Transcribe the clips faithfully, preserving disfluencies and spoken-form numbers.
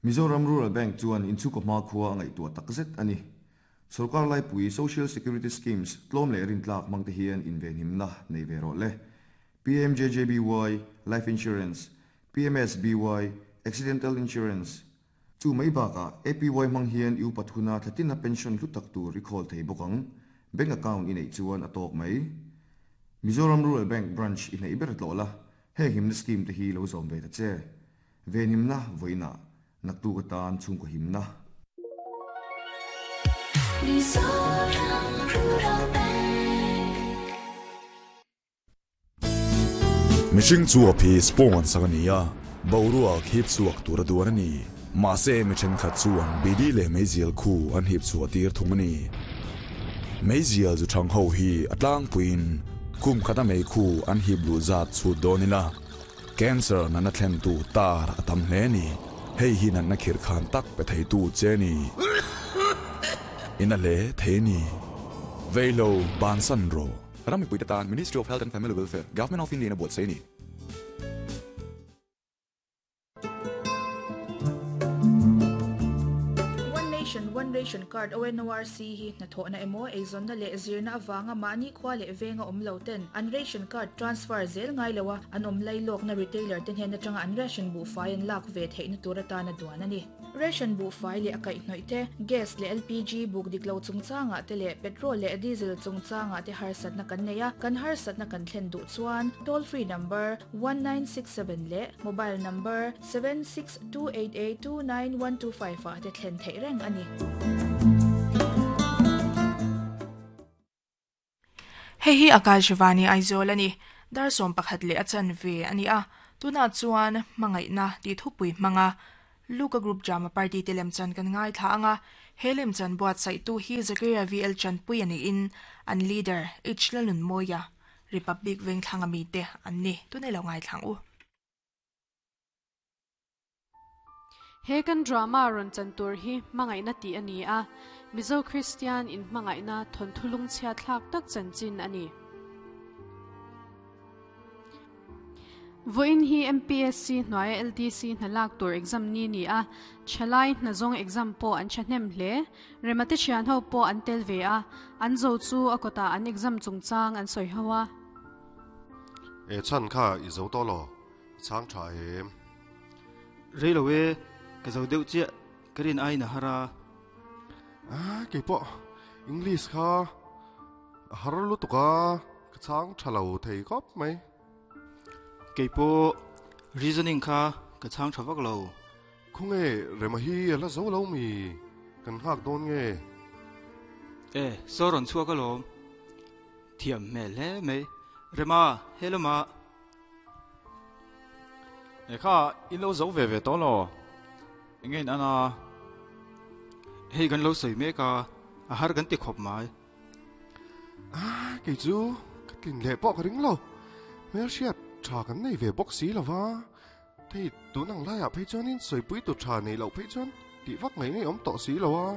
Mizoram Rural Bank chuan inchhungkaw hmakhua a ngaihtuah takzet a ni. Sorkar laipui Social Security Schemes tlawm leh rintlak hmang te hian invenhimna nei ve rawh le. P M J J B Y Life Insurance, P M S B Y Accidental Insurance, chu mai bakah A P Y hmang hian i upat huna thlatina pension hlu tak tur i khawl thei bawk ang. Bank account i neih chuan a tawk mai. Mizoram Rural Bank branch i hnaih ber tlawh la, heng himna scheme te hi lo zawm ve ta che. Venhimna vawiinah, naktuk atan chhungkaw himna. Mizoram Rural Bank. Mihring chuap hi spong an sak a ni a, boruak hip chhuak tur a duan a ni. Mahse mi thenkhat chuan bidi leh meizial khu an hip chhuah tir thung a ni. Meizial zu thang ho hi a tlangpuiin kum khata mei khu an hip luh zat chhut dawn ila, cancer natna thlen tu tar a tam hle ni. Hei hi natna khirh khan tak pe thei tu che ni. Ina le thei ni. Veilo bansan ro. Ram mipui te tan Ministry of Health and Family Welfare, Government of India na buat sei ni. One Nation One Ration Card O N O R C hi hnathawhna emaw eizawnna leh zirna avanga mahni khua leh venga awm lo ten an ration card transfer zel ngai loa an awm lailawkna retailer te hnen atanga an ration buhfai an lak ve theihna tur atana duan a ni. Ration buhfai leh a kaihhnawih te, gas leh L P G buk dik lo chungchangah te leh petrol leh diesel chungchangah te harsatna kan nei a, kan harsatna kan thlen duh chuan toll free number one nine six seven leh mobile number seven six two eight eight two nine one two five ah te thlen theih reng a ni. Hei hi Akashvani Aizawl ani. Dar sawm pakhat leh a chanve ani a. Tunah chuan hmangaihna tih thupui hmanga Luka Group Drama Party te lemchan kan ngaithla anga, he lemchan buatsaih tu hi Zakaria V L Chanpui ani in an leader H Lalun Moya Republic Vengthlanga mi te an ni. Tunei lo ngaithlang u. He kan drama ron chan tur hi hmangaihna tih ani a. Mizo Christian in hmangaihna thawnthu lungchhiat thlak tak chanchin ani. Voin hi M P S C hnuaia L D C hnalak tur exam ni ni a. Thalai hnazawng exam pawh an thahnem hle. Remate thian ho pawh an tel ve a. An zo chu a kawtah an exam chungchang an sawi ho a. E chan kha i zo to lo chang tha em? Reilowe, ka zo deuh chiah, ka rin ai na hara. A ke po English kha har lu tuka ka chang thalo thei khop mai. Keipo reasoning kha ka chang tha vak lo. Khunge rema hi la zo lo mi? Kan hak don nge? E soron chua ka lom thiam me le me rema hello ma. E kha in lo zo ve ve to lo ngein ana? Hei kan lo soi me ka a har kan ti khop mai. A ke chu ka tlin le po ka ring lo. Mel hriat tha kan nei ve bawk si lova. Thei tu nang lai a phei chuan in soi pui tu tha nei lo phei chuan ti vak nei nei om to si lo a.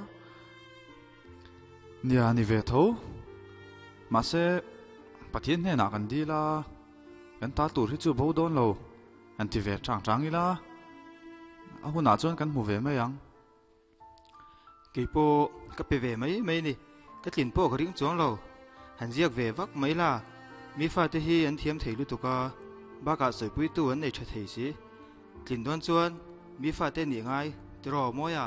Nia, ni ve tho. Ma se Pathian hne na kan di la, kan ta tur hi chu bo don lo an ti ve chang chang ila, a huna chuan kan hmu ve mai ang. Keipo ka pe ve mai mai ni. Ka tlin po ka ring chuang lo. Han ziak ve vak mai la, mi fa te hi an thiam thei lu tuka baka soi pui tu an nei tha thei si. Tlin don chuan mi fa te ni ngai tiro moya.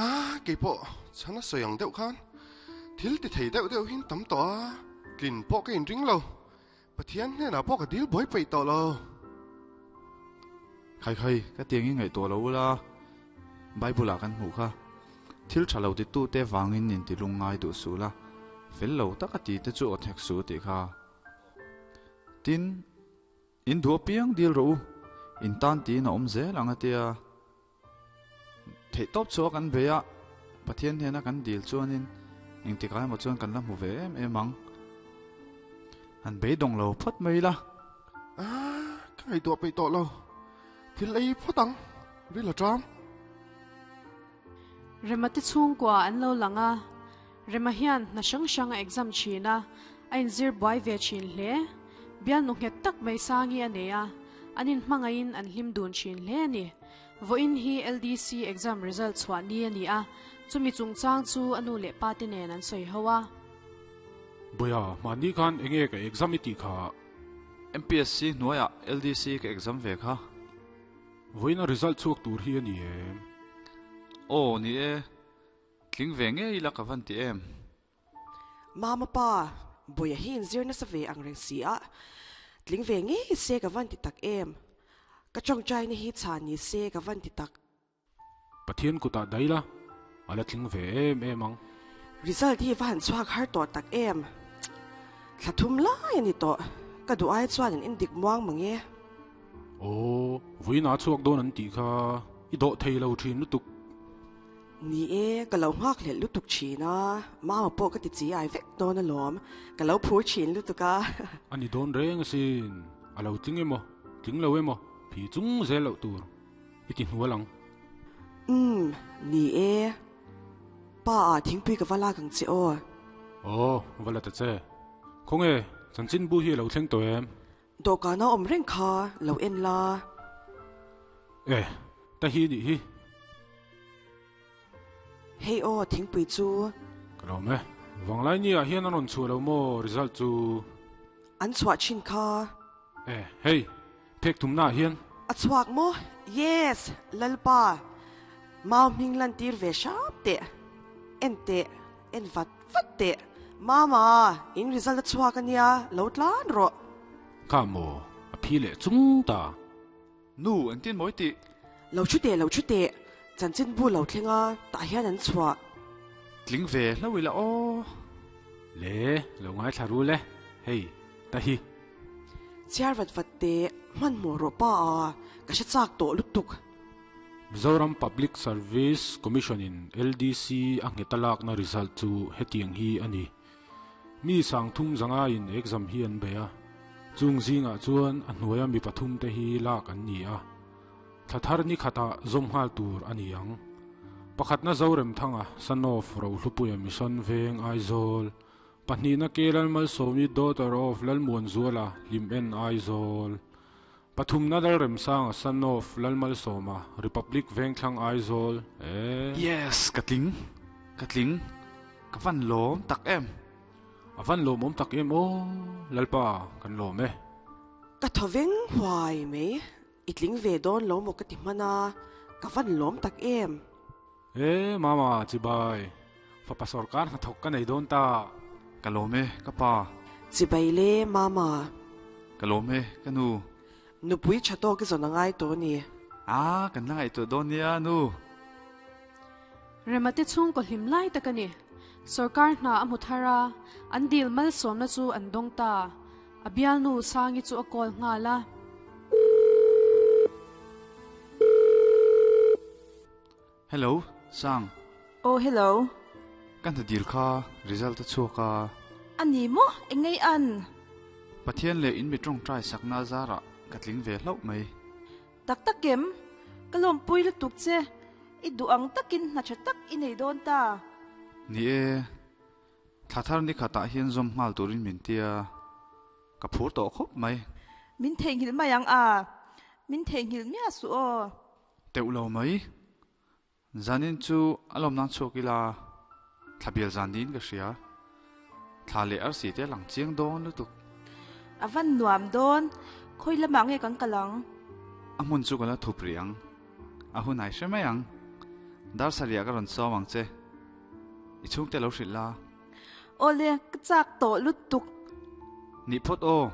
A ke po chana soyang deuh khan thil ti thei deuh deuh hin tam to a. Tlin po ka in ring lo. Pathian hne na po ka dil boi pei to lo. Khai khai, ka tiang i ngai to lo la. Bible a kan hmu kha, thil tha lo ti tu te wangin in ti lung ngai du su la, fel lo taka ti te chu othek su ti kha. Tin in du piang dil ro in tan ti na om zel anga tia. Thei top chu kan beya Pathian hena kan dil chuanin eng ti kai mo chuan kan la hmu ve em em ang. Han beidawng lo phawt mai la. A ka ngai to pei to lo. Thil ei photang ri la tram. Remate chhungkua an lo langa. Rema hian na hrang hrang a exam thina a, inzir buai ve thin hle. Bial nu nghet tak mai sangi a nei a. Anin mangain an hlim dun chin hle ni. Voin hi L D C exam result chhuah ni ani a. Chumi chungchang chu anu leh pa te nen an sawi ho a. Boya, mani khan enge ka exam iti kha. M P S C hnuaiah L D C ka exam ve kha. Voina result chuak tur hi ani em. Oh, ni e. Tling ve nge ila ka van ti em. Mama pa, boya hin zir na sa ve ang reng si a. Tling ve nge se ka van ti tak em. Ka chong chai ni hi cha ni se ka van ti tak. Pathian kuta daila, ala tling ve em em ang. Result hi van chuak har to tak em. Thlathum lai ani to. Ka du ai chuan in indik muang mange. Oh, voina chuak don an ti kha. I do thei lo thin lutuk. Ni e, ka lo ngak le lutuk china. Mama po ka ti chi ai vek don alom. Ka lo phur chin lutuk a. Ani don reng sin. Alo tling emo, tling lo emo. Phi chung ze lo tur. Iti hnualang. Um, ni e. Pa a thing pui ka wala kang che o. Oh, wala ta che. Khong e, chan chin bu hi lo thleng to em. Do ka na om reng kha, lo en la. E, ta hi ni hi. Hey o, thing pui chu. Ka lo me. Wang lai ni a hian an ron chu lo mo result chu. An chua chin kha. E, hey, phek thum na hian. A chuak mo? Yes, lalpa. Mau ming lan tir ve shap te. En te, en vat vat te. Mama, in result a chuak ania, lo tlan ro. Ka mo, a phi le chung ta. Nu, an tin moi ti. Lo chu te, lo chu te. Chan chin bu lo thlenga, ta hian an chua. Tling ve lo ila o. Le, lo ngai tharu le. Hey, ta hi. Chiar vat vat te, man mo ro pa a, ka sha chak to lutuk. Mizoram Public Service Commission in L D C ang hetalak na result chu hetiang hi ani. Mi sang thum zanga in exam hi an beya. Chung zinga chuan a hnuaia mi pathum te hi lak an ni a. Thathar ni khata zomhal tur ani ang. Pakhat na Zorem thanga son of Rohlupuia Mission Veng Aizawl. Pahnih na Kelal Malsawmi daughter of Lalmuanzuala Lim En Aizawl. Pathum na Lalremsanga son of Lalmalsawma Republic Vengthlang Aizawl. Eh. Yes, katling. Katling. Ka van lom tak em. A van lom om tak em o. Lalpa kan lom e. Ka thoveng huai mei. Itling ve don lo mo ka ti mana. Ka van lom tak em. Eh, mama chibai. Fa pasor kan thok ka nei don ta. Ka lom e, ka pa. Chibai le mama. Ka lom e, ka nu. Nu pui chato ki zon angai to ni. Ah, kan la ngai to don nia nu. Remate chung ko hlim lai takani. Sarkar na amuthara an dil mal som na chu an dong ta. Abial nu sangi chu akol nga la. Hello, Sang. Oh, hello. Kan ta dil kha result ta chu ka. Ani mo, engai an. Pathian le in mi tong trai sakna zara katling ve hlau mai. Tak takem, kalom pui lu tuk che. I du ang takin na cha tak inei don ta. Ni e, thathar ni khata hian zom ngal turin min tia. Ka phur to khop mai. Min theng hil mayang a. Min theng hil mia su o. Teu lo mai. Zanin chu alom nan chokila. Thabial zanin ka ria. Thale ar si te lang chiang don lu tuk. Avan nuam don. Khoi lamang nge kang kalang. Amun chu kala thupriang. A hun ai hremayang. Dar saria ka ron sawang che. I chung te lo hrit la. Ole, ka chak to lut tuk. Ni phot o.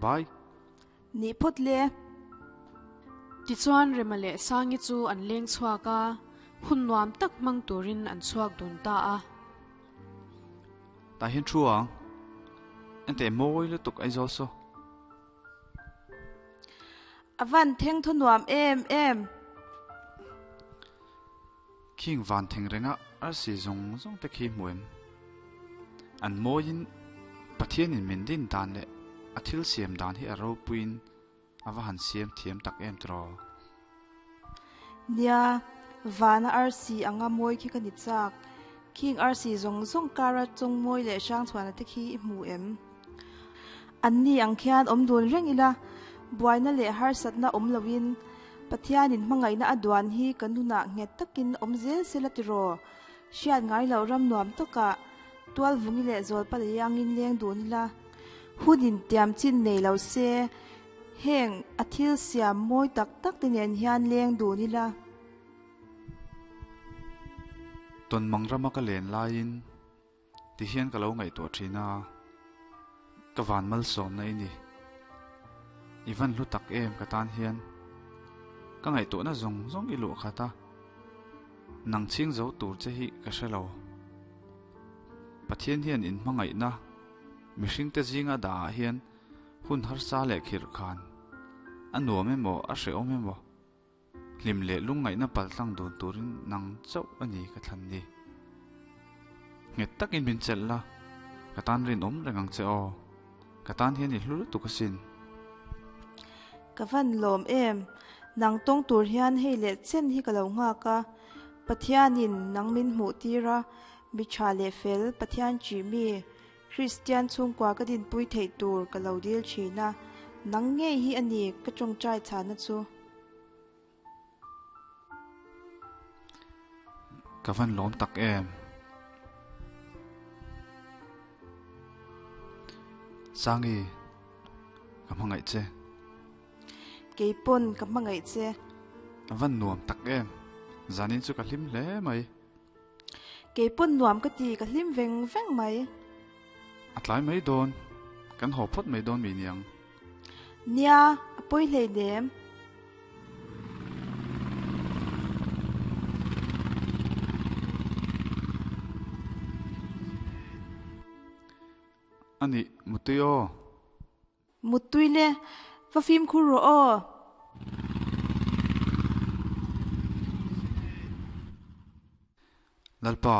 Bye. Ni phot le. Ti chuan remale sangi chu an leng chuaka. Hun nuam tak mang turin an chuak dun ta a. Ta hin chuang. An te moi lu tuk ai zo so. Avan theng thu nuam em em. King van theng renga ar si zong zong te khi muem. An moin pathian in min din dan le a thil siam dan hi a ro puin awa han siam thiam tak em tro. Nia vana R C anga moi khi ka ni chak. King R C zong zong kara chung moi le sang chuan te khi mu em. An ni ang khian om dun reng ila Buaina leh harsatna awm loin Pathianin hmangaihna a duan hi kan nunah nghet takin awm zel se la tiraw. Hriat ngai loh ram nuam takah tual vungi leh zawl pa lei angin leng dun ila. Hunin tiam chin nei lo se heng a thil siam mawi tak tak te nen hian leng dun ila. Ton mang rama ka len laiin ti hian ka lo ngaihtuah thin a. Ka van mal sawm na i ni. I van hlu tak em ka tan hian. Ka ngaihtuahna zawng zawng i luah khat a. Nang chhing zo tur che hi ka hre lo. Pathian hian in hmangaihna mihring te zinga dah ah hian hun harsa leh khirh khan. A nuam emaw a hrehawm emaw. Hlim leh lungngaihna paltlang dun turin nang chauh a ni ka thlan ni. Nghet takin min chelh la. Ka tan rinawm reng ang che aw. Ka tan hian i hlu lutuk asin. Ka van lawm em. Nang tawng tur hian hei leh chen hi ka lo nghak a. Pathianin nang min hmuh tir a. Mi tha leh fel Pathian chi mi Kristian chhungkua ka dinpui theih tur ka lo dil thin a. Nang ngei hi a ni ka tawngtai chhana chu. Ka van lawm tak em. Sangi, ka hmangaih che. Keipon ka hmangaih che. A van nuam tak em. Zanin chu ka hlim hle mai. Keipon nuam ka ti ka hlim veng veng mai. A tlai mai dawn. Kan haw phawt mai dawn mi niang. Nia, a pawi hlei nem. Ani, mutui aw. Mutui le, va phim khur ro aw. Lalpa.